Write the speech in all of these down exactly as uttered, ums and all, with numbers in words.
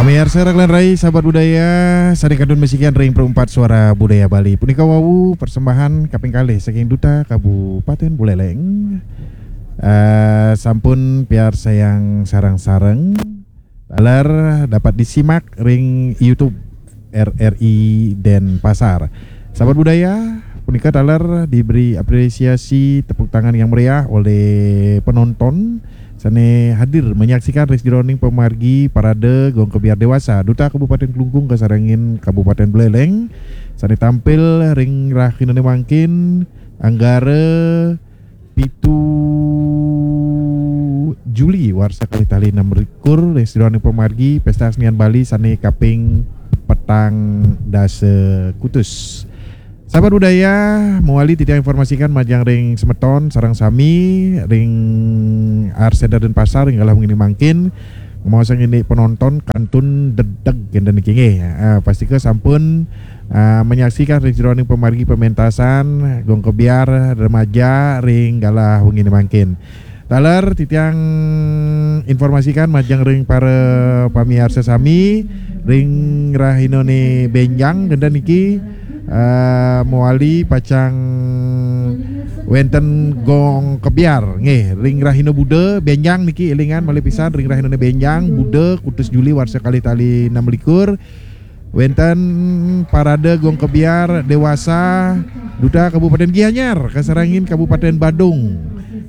Pamiarsa rakan rai, sahabat budaya, sane kantun masikian ring Perempat Suara Budaya Bali. Punika wau persembahan kaping kalih saking Duta Kabupaten Buleleng. Eh, sampun piarsayang sareng-sareng. Taler dapat disimak ring YouTube R R I Denpasar. Sahabat budaya, punika taler diberi apresiasi tepuk tangan yang meriah oleh penonton sane hadir menyaksikan ring sajeroning pamargi parade Gong Kebyar Dewasa Duta Kabupaten Klungkung kasarengin Kabupaten Buleleng sane tampil ring rahinane mangkin anggara pitu Juli warsa kalih tali enam likur ring sajeroning pamargi Pesta Kesenian Bali sane kaping petang dasa kutus. Sahabat budaya, mawali titiang informasikan majeng ring semeton sareng sami ring Art Center Denpasar ring galah wengi mangkin, ngemaosang indik penonton kantun dedeg kenten niki nggih. Ah, pastika sampun, ah, menyaksikan ring sajeroning pamargi pementasan Gong Kebyar remaja ring galah wengi mangkin. Taler titiang informasikan majeng ring para pamiarsa sami ring rahinane benjang kenten niki, eh, mawali pacang wenten Gong Kebyar nggih ring rahina Buda benjang niki, elingan malih pisan ring rahinane benjang Buda kutus Juli warsa kalih tali enam likur. Wenten parade Gong Kebyar Dewasa Duta Kabupaten Gianyar kasarengin Kabupaten Badung.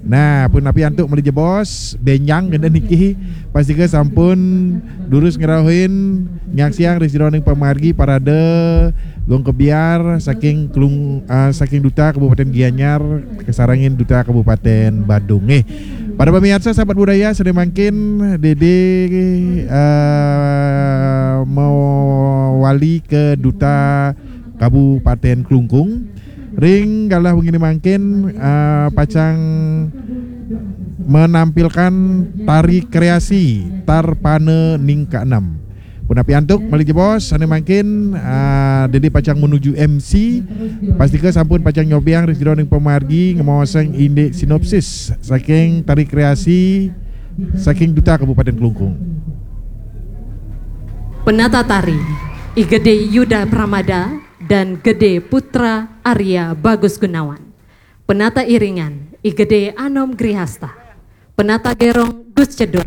Nah, punapi antuk malih jebos benjang kenten niki, pastika sampun durus ngrauhin nyaksiang ring sajeroning pamargi parade Gong Kebyar saking Klung-, ah, saking Duta Kabupaten Gianyar kasarengin Duta Kabupaten Badung nggih. Para pamiarsa sahabat budaya, sane mangkin Dede, eh, mawali ke Duta Kabupaten Klungkung. Ring galah wengi mangkin, eh, pacang menampilkan tari kreasi Tarpana Ningka Enam. Punapi antuk malih jebos sane mangkin, ah, Dede pacang menuju M C, pastika sampun pacang nyobiang ring sajeroning pamargi ngemaosang indik sinopsis saking tari kreasi saking Duta Kabupaten Klungkung. Penata tari, I Gede Yuda Pramada dan Gede Putra Arya Bagus Gunawan. Penata iringan, I Gede Anom Grihasta. Penata gerong, Gus Cedur.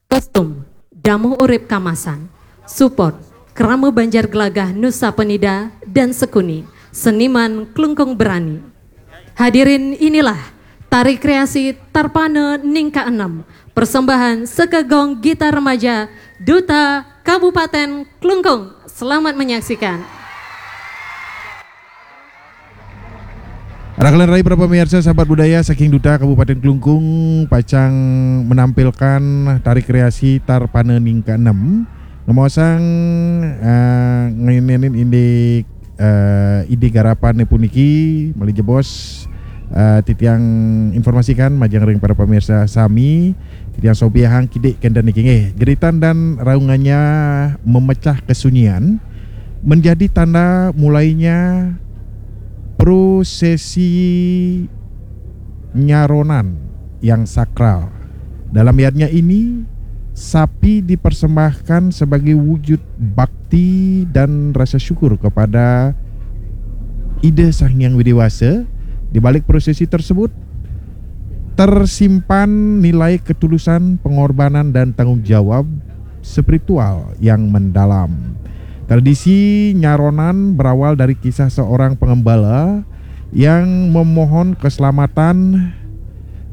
Kostum, Damuh Urip Kamasan. Support, Krama Banjar Gelagah Nusa Penida dan Sekuni, seniman Klungkung Berani. Hadirin, inilah tari kreasi Tarpana Ningka Enam, persembahan Sekegong Gita Remaja Duta Kabupaten Klungkung. Selamat menyaksikan. Rakan rai, para pamiarsa sahabat budaya, saking Duta Kabupaten Klungkung pacang menampilkan tari kreasi Tarpana Ningka Enam. Ngemaosang, eh, nginenin indik, eh, ide garapane puniki, malih jebos, eh, titiang informasikan majeng ring para pamiarsa sami, titiang sobiahang kidik kenten niki nggih. Jeritan dan raungannya memecah kesunyian menjadi tanda mulainya prosesi nyaronan yang sakral. Dalam yadnya ini, sapi dipersembahkan sebagai wujud bakti dan rasa syukur kepada Ida Sang Hyang Widi Wasa. Di balik prosesi tersebut, tersimpan nilai ketulusan, pengorbanan, dan tanggung jawab spiritual yang mendalam. Tradisi nyaronan berawal dari kisah seorang pengembala yang memohon keselamatan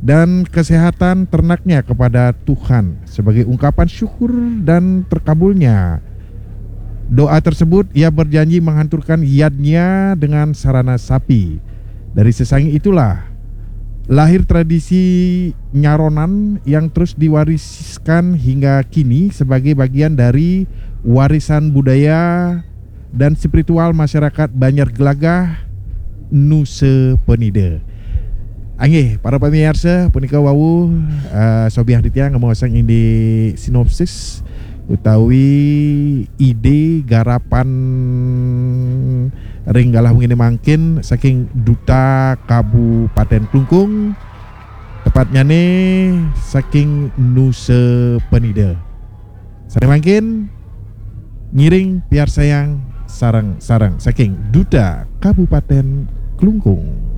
dan kesehatan ternaknya kepada Tuhan. Sebagai ungkapan syukur dan terkabulnya doa tersebut, ia berjanji menghancurkan yadnya dengan sarana sapi. Dari sesanging itulah lahir tradisi nyaronan yang terus diwariskan hingga kini sebagai bagian dari warisan budaya dan spiritual masyarakat Banjar Gelagah, Nusa Penida. Inggih, para pamiarsa, punika wau, eh, sobiahang titiang ngemaosang indik sinopsis utawi ide garapan ring galah wengi mangkin saking Duta Kabupaten Klungkung, tepatnyane saking Nusa Penida. Sane mangkin, Ngiring piarsayang sareng-sareng saking Duta Kabupaten Klungkung.